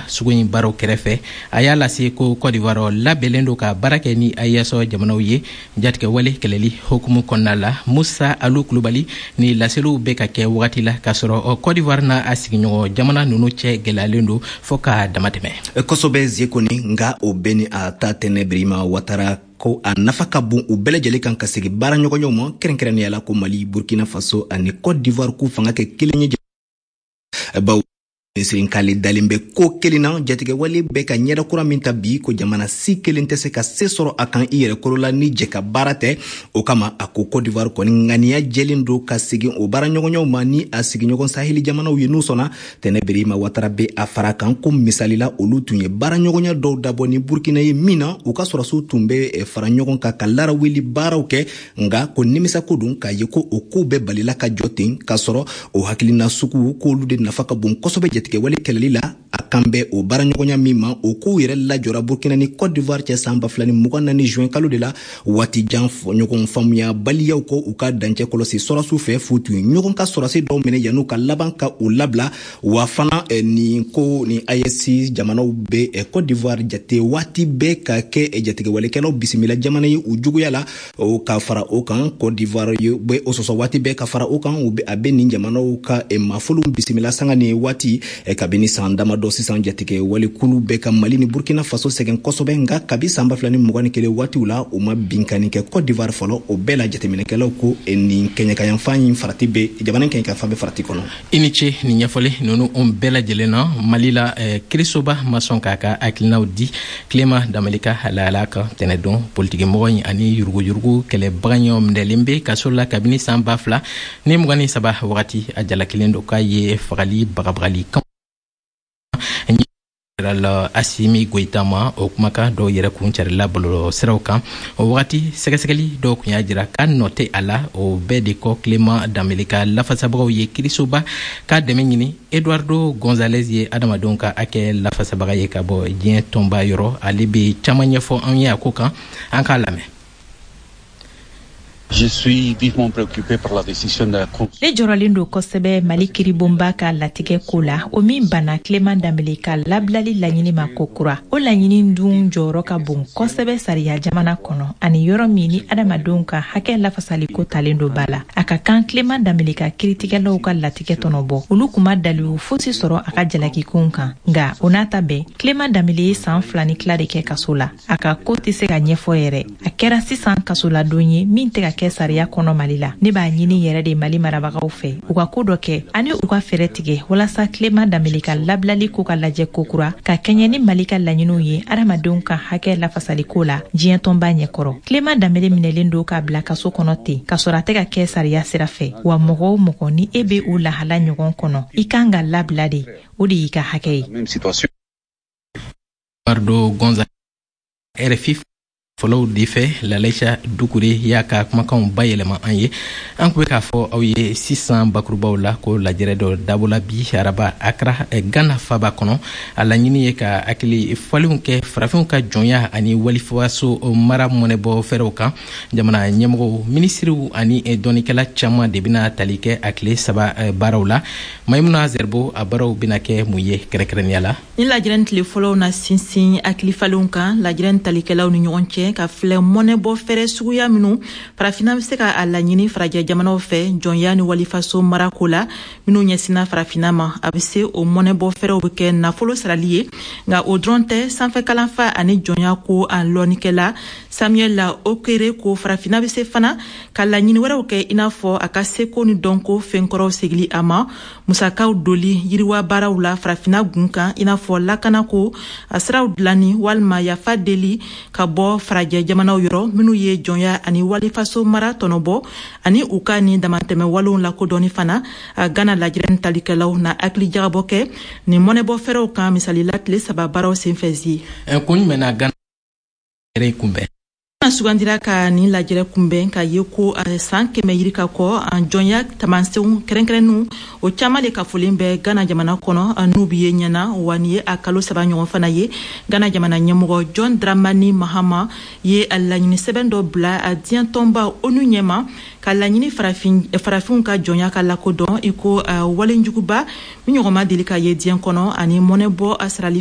Sugu in baaraw kɛrɛfɛ, a y'a lase ko Cote d'Ivoire labɛnlen don ka baara kɛ ni AES jamanaw ye jatigɛwale kɛlɛli hukumu kɔnɔna la. Musa Alu Kulubali, ni laseliw bɛ ka kɛ wagati la k'a sɔrɔ Cote d'Ivoire n'a a sigiɲɔgɔn jamana ninnu cɛ gɛlɛyalen don fɔɔ ka damatɛmɛ. Kosɛbɛ, Zekoni. Nga o bɛɛ ni a ta, Tɛnɛ Birima Watara ko a nafa ka bon u bɛɛ lajɛlen kan ka segi baara ɲɔgɔnyaw ma, kɛrɛnkɛrɛnnenya la ko Mali, Burkina Faso ani Cote d'Ivoire k'u fanga kɛ kelen ye, bawo minisiri k'ale dalen bɛ ko kelen na: jatigɛwale bɛ ka ɲɛda kura min ta bi, ko jamana si kelen tɛ se ka se sɔrɔ a kan i yɛrɛ kolo la ni jɛ ka baara tɛ. O kama, a ko Cote d'Ivoire kɔni ŋaniya jɛlen don ka segin o baaraɲɔgɔnyaw ma ni a sigiɲɔgɔn Saheli jamanaw ye n'u sɔnna. Tɛnɛ Birima Watara bɛ a fara kan ko misalila, olu tun ye baaraɲɔgɔnya dɔw dabɔ ni Burkina ye min na u ka sɔrɔsiw tun bɛ fara ɲɔgɔn kan ka laraweli baaraw kɛ. Nga ko nimisako don k'a ye ko o kow bɛɛ balila ka jɔ ten, k'a sɔrɔ o hakilina sugu k'olu de nafa ka bon kosɛbɛ jatigɛwale kɛlɛli la. A kan bɛ o baaraɲɔgɔnya min ma, o kow yɛrɛ lajɔra Burkina ni Cote d'Ivoire cɛ san 2024 juin kalo de la, waati jan ɲɔgɔn faamuya baliyaw kɔ u ka dancɛ kɔlɔsi sɔrɔsiw fɛ, f'u tun ye ɲɔgɔn ka sɔrɔsi dɔw minɛ yan'u ka laban ka u labila. Wa fana, nin ko ni AES jamanaw bɛ Cote d'Ivoire jate waati bɛɛ ka kɛ jatigɛwalekɛlaw bisimila jamana ye u juguya la. O ka fara o kan, Cote d'Ivoire bɛ o sɔsɔ waati bɛɛ. Ka fara o kan, a bɛ nin jamanaw ka mafolow bisimila sanga ni waati. Kabini san damadɔ sisan, jatigɛ walekulu bɛ ka Mali ni Burkina Faso sɛgɛn kosɛbɛ. Nka kabi san 2021 waatiw la, u ma binkani kɛ Cote d'Ivoire fɔlɔ. O bɛɛ la, jateminɛkɛlaw ko nin kɛɲɛkayanfan in farati bɛ jamana kɛɲɛkayanfan bɛ farati kɔnɔ. I ni ce nin ɲɛfɔli ninnu bɛɛ lajɛlen na. Mali la, kirisoba ma sɔn k'a ka hakilinaw di Clément Dembélé ka lahala kan tɛnɛdon. Politikimɔgɔ in ani yuruguyurugu kɛlɛbaga ɲɔ minɛlen bɛ kaso la kabini san 2023 wagati. A jalakilen don k'a ye fagali bagabagali kan la Asimi Goyita ma. O kumakan dɔw yɛrɛ kun carila bɔlɔlɔ siraw kan. O wagati, sɛgɛsɛgɛli dɔw kun y'a jira k'a nɔ tɛ a la. O bɛɛ de kɔ, Clément Dembélé ka lafasabagaw ye kirisoba k'a dɛmɛ ɲini. Eduardo Gonzalez ye adamadenw ka hakɛ lafasabaga ye ka bɔ diɲɛ tɔnba yɔrɔ. Ale bɛ caman ɲɛfɔ an ye a ko kan, an k'a lamɛn. Je suis vivement préoccupé par la décision de la Cour. Ne jɔrɔlen don kosɛbɛ Mali kiribonba ka latigɛ ko la, o min banna Clément Dembélé ka labilali laɲini ma ko kura. O laɲini dun jɔyɔrɔ ka bon kosɛbɛ sariya jamana kɔnɔ, ani yɔrɔ min ni adamadenw ka hakɛ lafasaliko talen don ba la. A ka kan Clément Dembélé ka kiritigɛlaw ka latigɛ tɔnɔ bɔ. Olu kun ma dalilu fosi sɔrɔ a ka jalakikow kan. Nga o n'a ta bɛɛ, Clément Dembélé ye san 2 ni tila de kɛ kaso la. A ka ko tɛ se ka ɲɛfɔ yɛrɛ. A kɛra sisan kasoladon ye min tɛ ka kɛ sariya kɔnɔ Mali la. Ne b'a ɲini yɛrɛ de Mali marabagaw fɛ, u ka ko dɔ kɛ ani u ka fɛɛrɛ tigɛ walasa Clément Dembélé ka labilali ko ka lajɛ kokura ka kɛɲɛ ni Mali ka laɲiniw ye adamadenw ka hakɛ lafasaliko la diɲɛ tɔnba ɲɛkɔrɔ. Clément Dembélé minɛlen don k'a bila kaso kɔnɔ ten k'a sɔrɔ a tɛ ka kɛ sariya sira fɛ. Wa mɔgɔ o mɔgɔ ni e be o lahala ɲɔgɔn kɔnɔ, i kan ka labila de, o de y'i ka hakɛ ye. Eduardo Gonzalez, RFI fɔlɔw de fɛ, Lalaisa Dukure y'a ka kumakanw bayɛlɛma an ye. An kun bɛ k'a fɔ aw ye sisan bakurubaw la ko lajɛrɛ dɔ dabɔla bi araba Akra, Ghana faba kɔnɔ. A laɲini ye ka hakili falenw kɛ farafinw ka jɔnya ani walifaso mara mɔnɛbɔ fɛɛrɛw kan. Jamana ɲɛmɔgɔw, minisiriw ani dɔnnikɛla caman de bɛna tali kɛ a tile 3 baaraw la. Maimuna Zerbo, a baaraw bɛna kɛ mun ye kɛrɛnkɛrɛnnenya la? Ni lajɛrɛ tile fɔlɔw na sinsin hakili falenw kan lajɛrɛ talikɛlaw ni ɲɔgɔn cɛ, ka filɛ mɔnɛbɔ fɛɛrɛ suguya minnu Farafinna bɛ se ka a laɲini farajɛ jamanaw fɛ jɔnya ni walifaso marako la minnu ɲɛsinna Farafinna ma. A bɛ se o mɔnɛbɔ fɛɛrɛw bɛ kɛ nafolo sarali ye. Nka o dɔrɔn tɛ, sanfɛ kalanfa ani jɔnya ko a lɔnnikɛla Samuel Okere ko Farafinna bɛ se fana ka laɲini wɛrɛw kɛ, i n'a fɔ a ka seko ni dɔnko fɛnkɔrɔw segili a ma, musakaw doli yiriwa baaraw la Farafinna gun kan, i n'a fɔ lakanako a siraw dilanni, walima yafa deli ka bɔ farajɛ jamanaw yɔrɔ minnu ye jɔnya ani walifaso mara tɔnɔbɔ, ani u ka nin damatɛmɛ walew lakodɔnni fana. Gana lajɛrɛ talikɛlaw na hakili jagabɔ kɛ nin mɔnɛbɔ fɛɛrɛw kan misalila tile 3 baaraw senfɛ zi. Kun jumɛn na Gana yɛrɛ kunbɛn? Sugandira ka nin lajɛrɛ kunbɛn ka ye ko san 100 yirika kɔ, jɔnya tamasenw kɛrɛnkɛrɛnninw o caman de kafolen bɛ Gana jamana kɔnɔ n'u bi ye ɲɛna. Wa nin ye a kalo 3 ɲɔgɔn fana ye, Gana jamana ɲɛmɔgɔ John Dramani Mahama ye laɲini sɛbɛn dɔ bila diɲɛ tɔnba ONU ɲɛma ka laɲini farafinw ka jɔnya ka lakodɔn i ko walenjuguba min ɲɔgɔn ma deli ka ye diɲɛ kɔnɔ, ani mɔnɛbɔ a sarali.